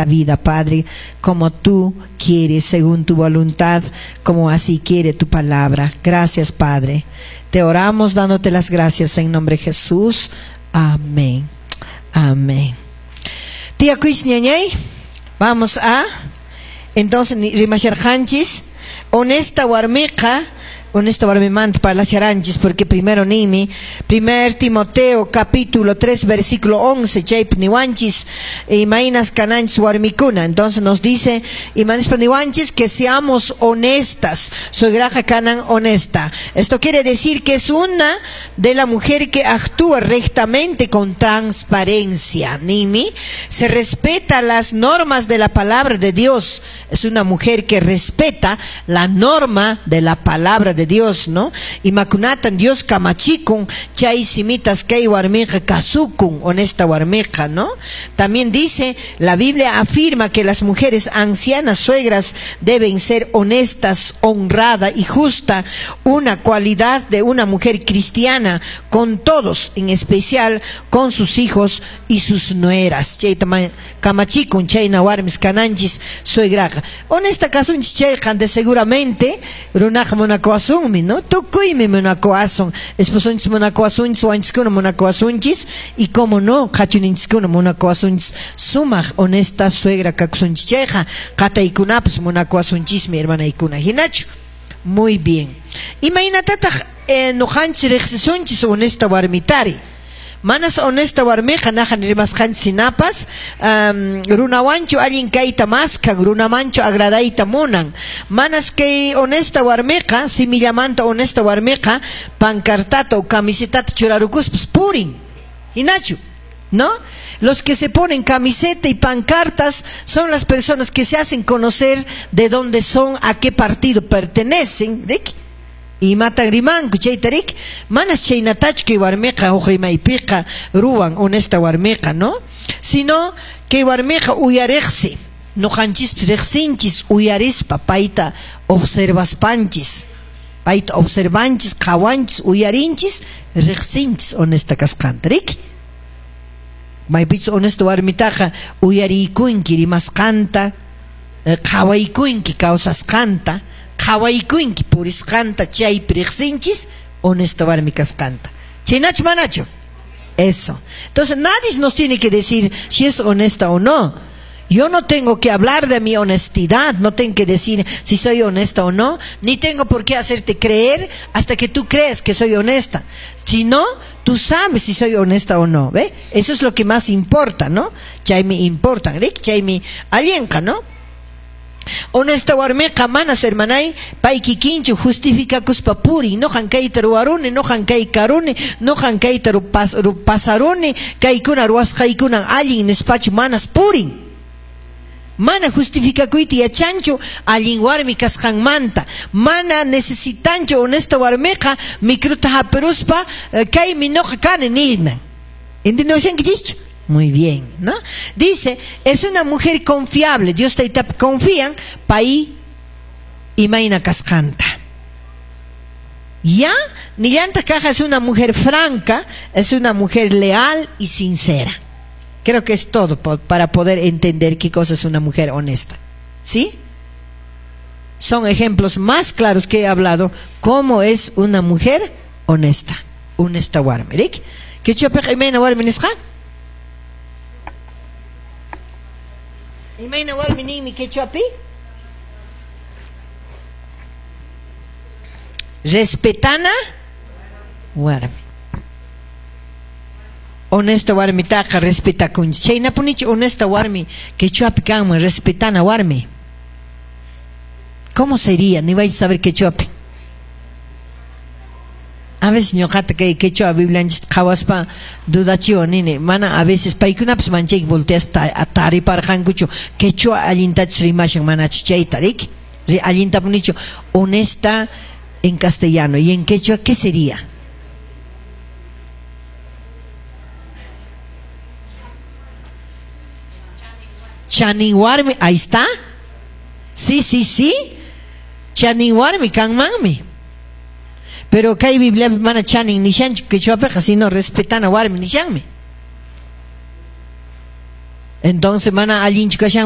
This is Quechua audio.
esta vida, Padre, como tú quieres, según tu voluntad, como así quiere tu palabra. Gracias, Padre. Te oramos dándote las gracias en nombre de Jesús. Amén. Amén. Tía Ñañay, vamos a entonces rimasharqanchis honesta warmiqa, honesta warmimanta parlasharanchis, porque primero nimi 1 Timoteo capítulo 3 versículo 11 chaypi niwanchis imaynas kananchis warmikuna. Entonces nos dice imanispa niwanchis que seamos honestas, suegraja kanan honesta. Esto quiere decir que es una de la mujer que actúa rectamente con transparencia. Nimi se respeta las normas de la palabra de Dios. Es una mujer que respeta la norma de la palabra de Dios, ¿no? Imakunatan Dios kamachikun, chay simitas kay warmiqa kasukun, honesta warmiqa, ¿no? También dice, la Biblia afirma que las mujeres ancianas suegras deben ser honestas, honrada y justa, una cualidad de una mujer cristiana con todos, en especial con sus hijos y sus nueras. Chayta kamachikun, chayna warmis kananchis suegraqa. Honesta kasunchis chayqa de seguramente runaqa munakuwasunmi, ¿no? Tukuymi munakuwasun, esposonchis munakuwasunchis, wanchiskuna munakuwasunchis, y como no, qachuninchiskuna munakuwasunchis, sumaq honesta suegra kakusunchis chayqa, qataykunapas munakuwasunchismi, hermanaykuna, hinachu. Muy bien. Imaynatataq nuqanchis riqsisunchis honesta warmitari? Manas honesta warmiqa najan rimasqanchis sinapas, runawanchu allin kayta maskan, runamanchu agradayta munan. Manas kay honesta warmiqa, simillamanta honesta warmiqa, pancartata o camisetata churarukuspas purin. Hinachu, ¿no? Los que se ponen camiseta y pancartas son las personas que se hacen conocer de dónde son, a qué partido pertenecen, ¿de qué? Y matan rimanku chaytarik, manas chaynatachu kay warmiqa huk rimaypiqa ruwan honesta warmiqa, ¿no? Sino kay warmiqa uyariqsi, nuqanchispi riqsinchis uyarispa payta observaspanchis, payta observanchis, qhawanchis, uyarinchis, riqsinchis honesta kasqanta, riki? Maypichus honesta warmitaqa uyariykunki rimasqanta, qhawaykunki kawsasqanta, qhawaykunki purisqanta, chaypi riqsinchis honesta warmi kasqanta. Chaynachu manachu? Eso. Entonces nadie nos tiene que decir si es honesta o no. Yo no tengo que hablar de mi honestidad, no tengo que decir si soy honesta o no, ni tengo por qué hacerte creer hasta que tú creas que soy honesta. Si no, tú sabes si soy honesta o no, ¿ve? Eso es lo que más importa, ¿no? Chaymi importa, ¿ve? Chaymi allinqa, ¿no? Honesta warmiqa manas hermanay pay kikinchu justificakuspa purin, noqan kayta ruwaruni, noqan kay karuni, noqan kayta pasaruni, kaykuna ruwasqaykunan allin nispachu manas purin. Mana justificakuyta yachanchu allin warmi kasqanmanta, mana necesitanchu honesta warmiqa micruta hapiruspa kaymi noqa kani nina. ¿Entendewashankichischu? Muy bien, ¿no? Dice, es una mujer confiable. Dios taytapi confían, pay imayna kasqanta. Ya, nillanta kaja es una mujer franca, es una mujer leal y sincera. Creo que es todo para poder entender qué cosa es una mujer honesta. ¿Sí? Son ejemplos más claros que he hablado, cómo es una mujer honesta. Honesta warmi, ¿rik? ¿Qué imayna warmi nisqa? Imayna warmi ninmi quechuapi? Respetana warmi. Honesta warmitaqa respetakunchis. Chaynapunichu honesta warmi quechuapi kanman respetana warmi? ¿Cómo sería? Ni vais a saber quechuapi. A veces ñuqata kay quechua biblianchista qhawaspa dudachiwan nini, mana a veces paykunapas manchayki volteaspa tariparqankuchu quechua allintachus rimashan manachu chayta, riki? Allintapunichu honesta en castellano y en quechua, ¿qué sería? Chanin warmi, ahí está. Sí, sí, sí. Chanin warmi kanmanmi. Pero kay Biblia mana chanin nishanchu quechuapiqa, sino respetana warmi nishanmi. Entonces mana allinchu kashan.